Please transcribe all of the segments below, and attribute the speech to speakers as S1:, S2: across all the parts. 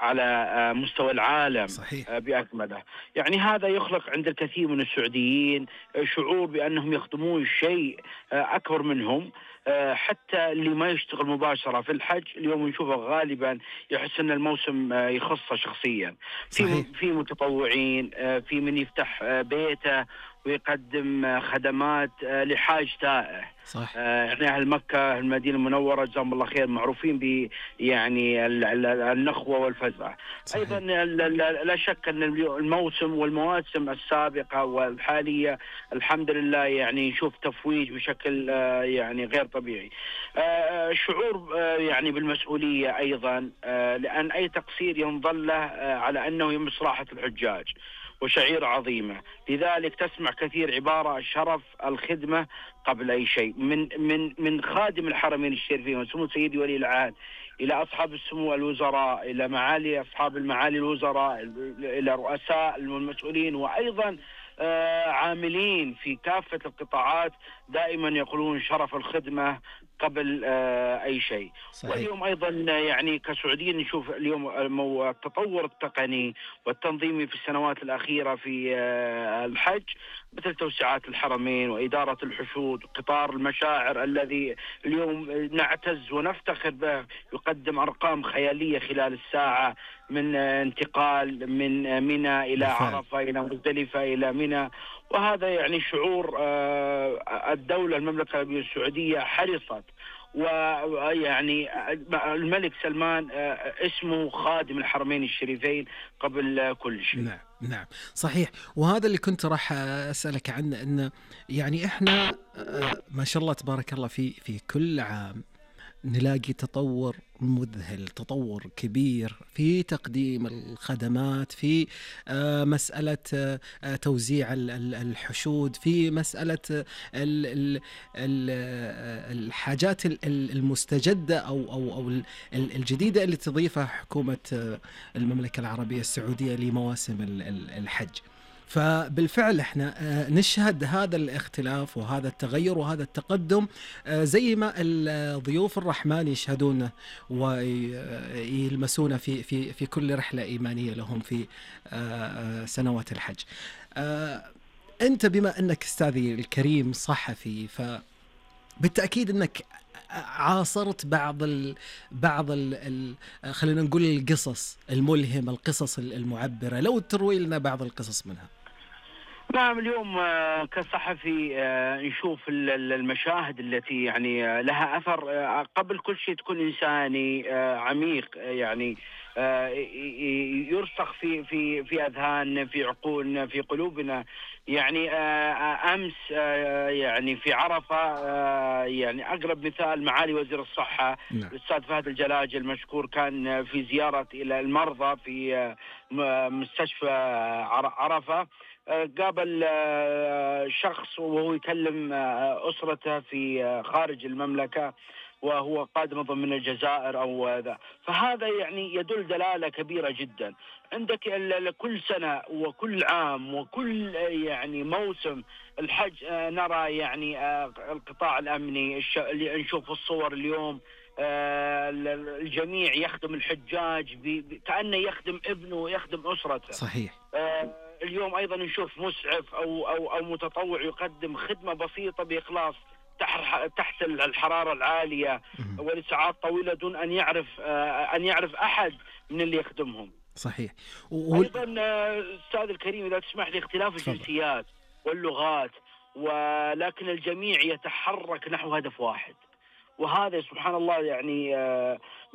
S1: على مستوى العالم
S2: صحيح.
S1: بأكمله. يعني هذا يخلق عند الكثير من السعوديين شعور بأنهم يخدمون شيء أكبر منهم. حتى اللي ما يشتغل مباشرة في الحج اليوم نشوفه غالبا يحس أن الموسم يخصه شخصيا.
S2: صحيح.
S1: في متطوعين، في من يفتح بيته ويقدم خدمات لحاج تائه.
S2: صح.
S1: يعني أهل مكة المدينة المنورة جزاهم الله خير معروفين ب يعني النخوة والفزع.
S2: صحيح.
S1: أيضا لا شك أن الموسم والمواسم السابقة والحالية الحمد لله يعني نشوف تفويج بشكل يعني غير طبيعي. شعور يعني بالمسؤولية أيضا، لأن أي تقصير ينظل له على أنه يمس راحة الحجاج وشعيرة عظيمة. لذلك تسمع كثير عبارة الشرف الخدمة قبل أي شيء، من خادم الحرمين الشريفين وسمو سيدي ولي العهد إلى أصحاب السمو الوزراء، إلى معالي أصحاب المعالي الوزراء، إلى رؤساء المسؤولين، وأيضا عاملين في كافة القطاعات دائما يقولون شرف الخدمة قبل أي شيء.
S2: صحيح.
S1: واليوم أيضا يعني كسعوديين نشوف اليوم التطور التقني والتنظيمي في السنوات الأخيرة في الحج، مثل توسعات الحرمين وإدارة الحشود وقطار المشاعر الذي اليوم نعتز ونفتخر به، يقدم أرقام خيالية خلال الساعة من انتقال من منى إلى عرفة إلى مزدلفة إلى منى. وهذا يعني شعور الدولة المملكة العربية السعودية حرصت، ويعني الملك سلمان اسمه خادم الحرمين الشريفين قبل كل شيء.
S2: نعم نعم صحيح. وهذا اللي كنت راح أسألك عنه، أن يعني إحنا ما شاء الله تبارك الله في كل عام نلاقي تطور مذهل، تطور كبير في تقديم الخدمات، في مسألة توزيع الحشود، في مسألة الحاجات المستجدة أو الجديدة اللي تضيفها حكومة المملكة العربية السعودية لمواسم الحج. فبالفعل احنا نشهد هذا الاختلاف وهذا التغير وهذا التقدم، زي ما ضيوف الرحمن يشهدونه ويلمسونه في كل رحلة إيمانية لهم في سنوات الحج. أنت بما أنك أستاذي الكريم صحفي، فبالتأكيد أنك عاصرت بعض خلينا نقول القصص الملهمة، القصص المعبرة، لو تروي لنا بعض القصص منها.
S1: نعم، اليوم كصحفي نشوف المشاهد التي يعني لها أثر. قبل كل شيء تكون إنساني عميق، يعني يرسخ في أذهاننا، في عقولنا، في قلوبنا. يعني أمس يعني في عرفة، يعني أقرب مثال معالي وزير الصحة الأستاذ فهد الجلاجل المشكور كان في زيارة إلى المرضى في مستشفى عرفة. قابل شخص وهو يكلم أسرته في خارج المملكة وهو قادم ضمن الجزائر أو ذا. فهذا يعني يدل دلالة كبيرة جدا. عندك كل سنة وكل عام وكل يعني موسم الحج نرى يعني القطاع الأمني اللي نشوف الصور اليوم، الجميع يخدم الحجاج كأنه يخدم ابنه ويخدم أسرته.
S2: صحيح.
S1: اليوم أيضا نشوف مسعف أو متطوع يقدم خدمة بسيطة بإخلاص تحت الحرارة العالية ولساعات طويلة دون أن يعرف أحد من اللي يخدمهم.
S2: صحيح.
S1: أيضا أستاذ الكريم إذا تسمح لي، اختلاف الجنسيات واللغات، ولكن الجميع يتحرك نحو هدف واحد. وهذا سبحان الله يعني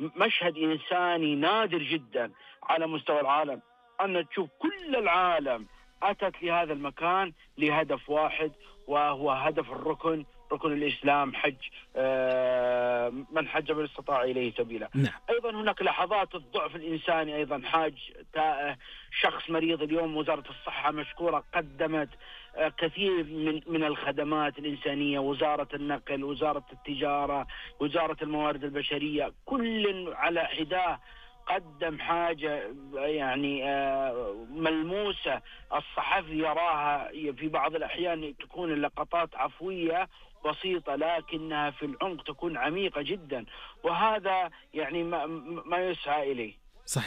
S1: مشهد إنساني نادر جدا على مستوى العالم، أن تشوف كل العالم أتت لهذا المكان لهدف واحد، وهو هدف ركن الإسلام، حج من حج من استطاع إليه سبيلا.
S2: نعم.
S1: أيضا هناك لحظات الضعف الإنساني، أيضا حاج تائه، شخص مريض. اليوم وزارة الصحة مشكورة قدمت كثير من الخدمات الإنسانية، وزارة النقل، وزارة التجارة، وزارة الموارد البشرية، كل على حداه قدم حاجة يعني ملموسة. الصحفي يراها في بعض الأحيان تكون اللقطات عفوية بسيطة، لكنها في العمق تكون عميقة جدا، وهذا يعني ما يسعى إليه.